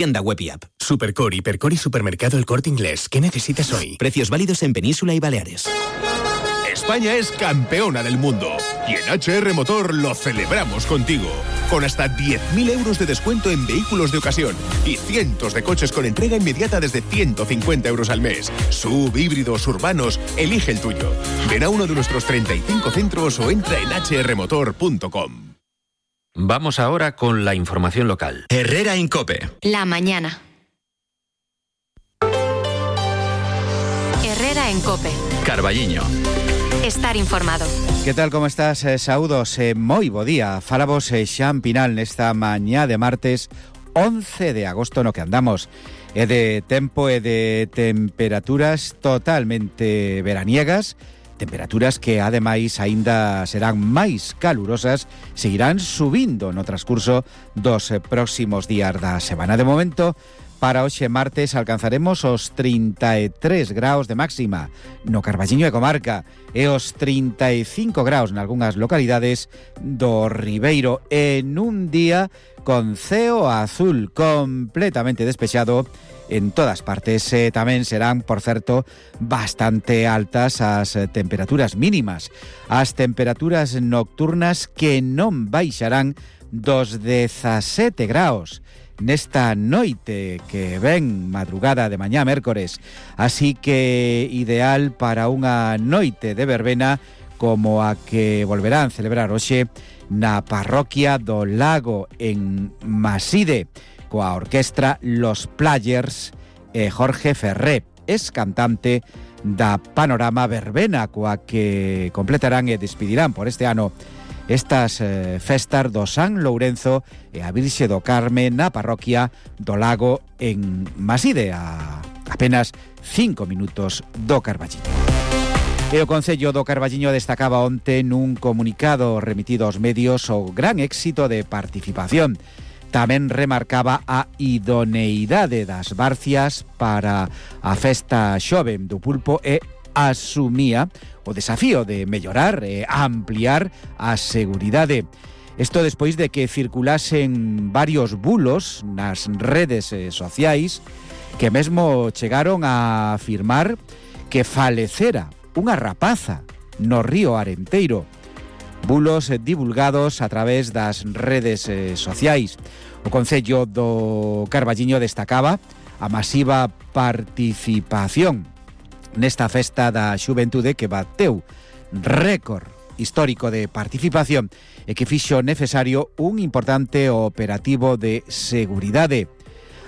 Tienda web y app. Supercore, Hipercore y Supermercado El Corte Inglés. ¿Qué necesitas hoy? Precios válidos en Península y Baleares. España es campeona del mundo y en HR Motor lo celebramos contigo. Con hasta 10.000 euros de descuento en vehículos de ocasión y cientos de coches con entrega inmediata desde 150 euros al mes. SUV, híbridos, urbanos, elige el tuyo. Ven a uno de nuestros 35 centros o entra en hrmotor.com. Vamos ahora con la información local. Herrera en COPE. La mañana. Herrera en COPE. Carballiño. Estar informado. Que tal, como estás? Saúdos, moi bo día. Falamos Xan Pinal nesta mañá de martes 11 de agosto no que andamos. É de tempo e de temperaturas totalmente veraniegas, temperaturas que ademais aínda serán máis calurosas, seguirán subindo no transcurso dos próximos días da semana. De momento, para hoxe martes alcanzaremos os 33 graus de máxima no Carballiño e comarca e os 35 graus nalgúnas localidades do Ribeiro en un día con ceo azul completamente despexado en todas partes. Tamén serán, por certo, bastante altas as temperaturas mínimas. As temperaturas nocturnas que non baixarán dos 17 graus nesta noite que ven madrugada de mañá mércores, así que ideal para unha noite de verbena como a que volverán celebrar hoxe na parroquia do Lago en Maside coa orquestra Los Players e Jorge Ferré, es cantante da Panorama Verbena coa que completarán e despedirán por este ano estas festas do San Lourenzo e a Virxe do Carme na parroquia do Lago en Maside, a apenas 5 minutos do Carballiño. E o Concello do Carballiño destacaba onte nun comunicado remitido aos medios o gran éxito de participación. Tamén remarcaba a idoneidade das barcias para a festa xoven do pulpo e asumía o desafío de mellorar e ampliar a seguridade. Isto despois de que circulasen varios bulos nas redes sociais que mesmo chegaron a afirmar que falecera unha rapaza no río Arenteiro. Bulos divulgados a través das redes sociais. O Concello do Carballiño destacaba a masiva participación nesta festa da xuventude que bateu récord histórico de participación e que fixo necesario un importante operativo de seguridade.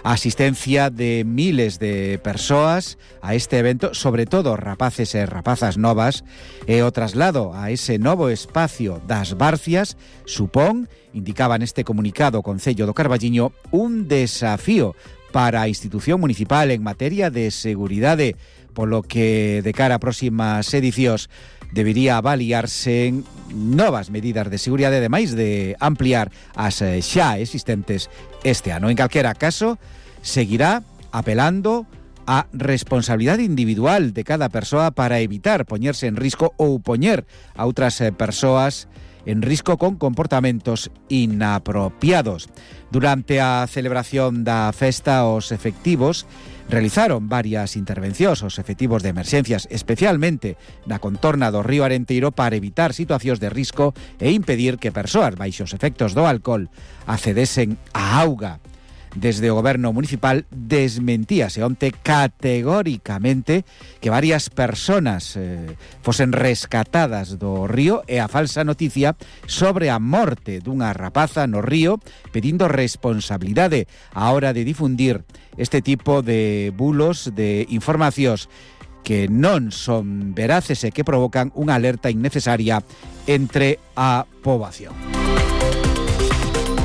A asistencia de miles de persoas a este evento, sobre todo rapaces e rapazas novas, e o traslado a ese novo espacio das barcias supón, indicaba neste comunicado o Concello do Carballiño, un desafío para a institución municipal en materia de seguridade, polo que de cara a próximas edicións debería avaliarse novas medidas de seguridade, ademais de ampliar as xa existentes este ano. En calquera caso, seguirá apelando a responsabilidade individual de cada persoa para evitar poñerse en risco ou poñer a outras persoas en risco con comportamentos inapropiados. Durante a celebración da festa, os efectivos realizaron varias intervencións, os efectivos de emerxencias, especialmente na contorna do río Arenteiro, para evitar situacións de risco e impedir que persoas baixo os efectos do alcohol accedesen á auga. Desde o goberno municipal desmentíase onte categóricamente que varias personas fosen rescatadas do río e a falsa noticia sobre a morte dunha rapaza no río, pedindo responsabilidade á hora de difundir este tipo de bulos, de informacións que non son veraces e que provocan unha alerta innecesaria entre a poboación.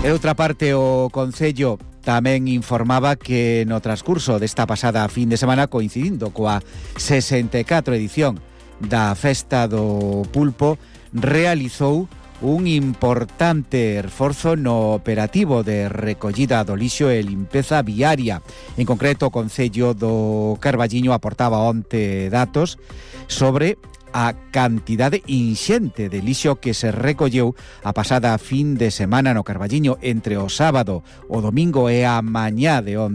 E outra parte, o Concello tamén informaba que no transcurso desta pasada fin de semana, coincidindo coa 64 edición da Festa do Pulpo, realizou un importante esforzo no operativo de recollida do lixo e limpeza viaria. En concreto, o Concello do Carballiño aportaba onte datos sobre a cantidade inxente de lixo que se recolleu a pasada fin de semana no Carballiño entre o sábado, o domingo e a mañá de onte